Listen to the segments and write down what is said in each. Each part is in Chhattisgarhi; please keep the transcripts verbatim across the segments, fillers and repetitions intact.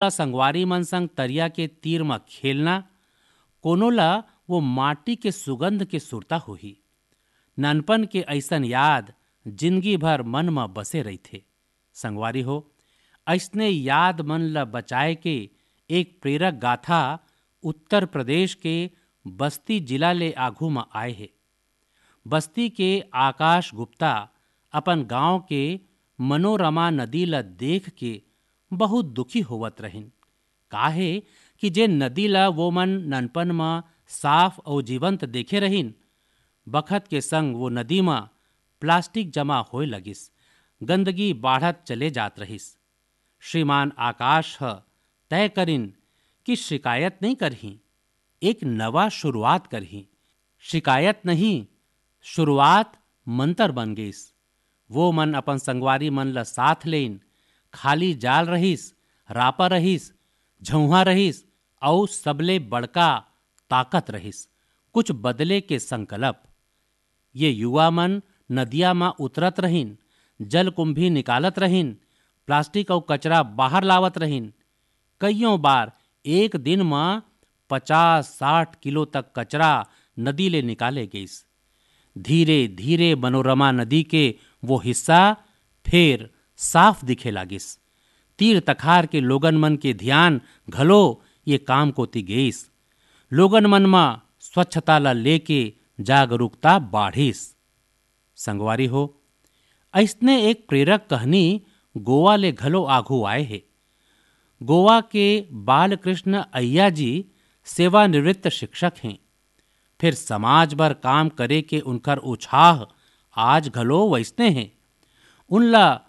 ला संगवारी मन संग तरिया के तीर म खेलना, कोनो ला वो माटी के सुगंध के सुरता होही। ननपन के अइसन याद जिंदगी भर मन म बसे रहिथे। संगवारी हो, अइसने याद मन ल बचाए के एक प्रेरक गाथा उत्तर प्रदेश के बस्ती जिला ले आघू म आए हे। बस्ती के आकाश गुप्ता अपन गांव के मनोरमा नदी ल देख के बहुत दुखी होवत रहिन। काहे कि जे नदी ल वो मन ननपन म साफ अउ जीवंत देखे रहिन, बखत के संग वो नदी म प्लास्टिक जमा होए लगिस, गंदगी बाढ़त चले जात रहिस। श्रीमान आकाश ह तय करिन कि शिकायत नइ करही, एक नवा शुरुआत करही। शिकायत नहीं, शुरुआत मंतर बन गईस। वो मन अपन संगवारी मन ल साथ लेइन। खाली जाल रहिस, रापा रहिस, झउहा रहिस, अउ सबले बड़का ताकत रहिस, कुछ बदले के संकल्प। ये युवा मन नदिया म उतरत रहिन, जलकुंभी निकालत रहिन, प्लास्टिक अउ कचरा बाहर लावत रहिन। कइयों बार एक दिन म पचास साठ किलो तक कचरा नदी ले निकाले गइस। धीरे-धीरे मनोरमा नदी के वो हिस्सा फेर साफ दिखे लागिस। तीर तखार के लोगन मन के धियान घलो ये काम कोति गेइस। लोगन मन म स्वच्छता ल लेके जागरूकता बाढ़िस। संगवारी हो, अइसने एक प्रेरक कहनी गोवा ले घलो आघू आए हे। गोवा के बालकृष्ण अय्या जी सेवानिवृत्त शिक्षक हें। फेर समाज बर काम करे के उनकर उछाह आज घलो वइसने हे। उनला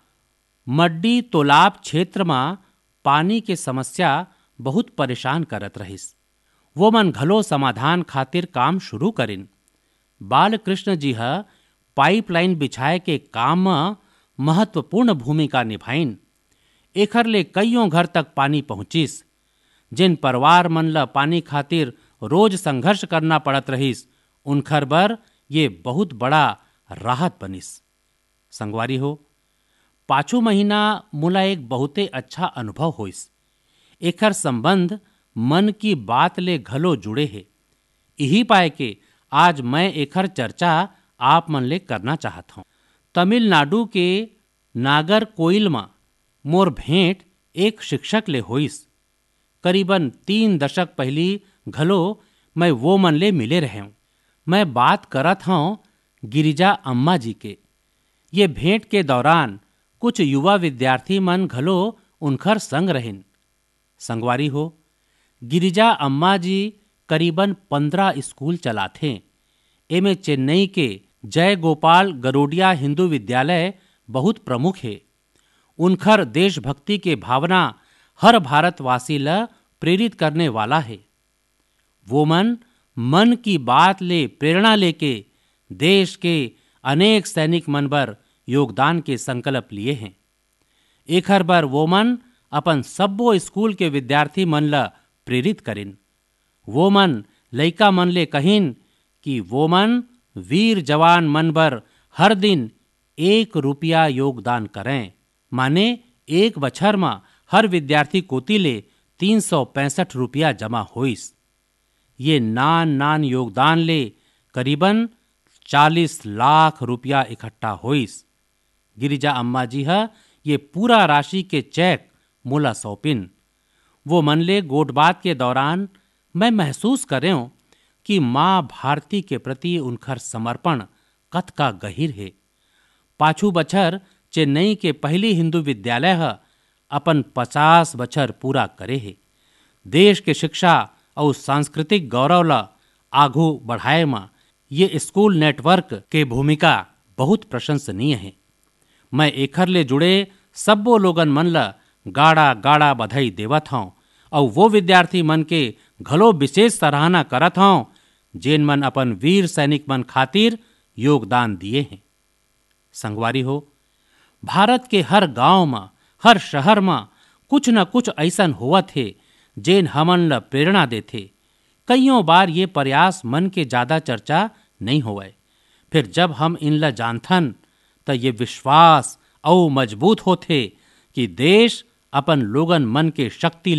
मड्डी तोलाब क्षेत्र म पानी के समस्या बहुत परेशान करत रहिस। वो मन घलो समाधान खातिर काम शुरू करिन। बालकृष्ण जी ह पाइपलाइन बिछाए के काम म महत्वपूर्ण भूमिका निभाइन। एखर ले कइयों घर तक पानी पहुंचिस। जिन परिवार मन ल पानी खातिर रोज संघर्ष करना पड़त रहिस, उनखर बर ये बहुत बड़ा राहत बनिस। संगवारी हो, पाछू महीना मोला एक बहुते अच्छा अनुभव होइस। एखर संबंध मन की बात ले घलो जुड़े हे। इही पाए के आज मैं एखर चर्चा आप मन ले करना चाहत हौं। तमिलनाडु के नागरकोइल म मोर भेंट एक शिक्षक ले होइस। करीबन तीन दशक पहिली घलो मैं वो मन ले मिले रहेंव। मैं बात करत हौं गिरिजा अम्मा जी के। ये भेंट के दौरान कुछ युवा विद्यार्थी मन घलो उनखर संग रहिन। संगवारी हो, गिरिजा अम्मा जी करीबन पंद्रह स्कूल चलाथें। एमे चेन्नई के जय गोपाल गरोडिया हिंदू विद्यालय बहुत प्रमुख हे। उनखर देशभक्ति के भावना हर भारतवासी ल प्रेरित करने वाला हे। वो मन मन की बात ले प्रेरणा लेके देश के अनेक सैनिक मन बर योगदान के संकल्प लिए हें। एखर बर वो मन अपन सब्बो स्कूल के विद्यार्थी मन ल प्रेरित करिन। वो मन लइका मन ले कहिन कि वो मन वीर जवान मन बर हर दिन एक रुपया योगदान करें, माने एक बछर म हर विद्यार्थी कोति ले तीन सौ पैंसठ रुपया जमा होइस। ये नान-नान योगदान ले करीबन चालीस लाख रुपया इकट्ठा होइस। गिरिजा अम्मा जी ह ये पूरा राशि के चेक मोला सौंपिन। वो मन ले गोठबात के दौरान मैं महसूस करेंव कि माँ भारती के प्रति उनखर समर्पण कतका गहिर हे। पाछू बछर चेन्नई के पहिली हिंदू विद्यालय ह अपन पचास बछर पूरा करे हे। देश के शिक्षा अउ सांस्कृतिक गौरव ल आघू बढ़ाए म ये स्कूल नेटवर्क के भूमिका बहुत प्रशंसनीय हे। मैं एखर ले जुड़े सब्बो लोगन मन ल गाड़ा-गाड़ा बधाई देवत हौं अउ वो विद्यार्थी मन के घलो विशेष सराहना करत हौं, जेन मन अपन वीर सैनिक मन खातिर योगदान दिए हें। संगवारी हो, भारत के हर गांव म, हर शहर म कुछ न कुछ अइसन होवत हे, जेन हमन ल प्रेरणा देथे। कइयों बार ये प्रयास मन के जादा चर्चा नइ होवय, फेर जब हम इनला जानथन, त ये विश्वास अउ मजबूत होथे कि देश अपन लोगन मन के शक्ति ले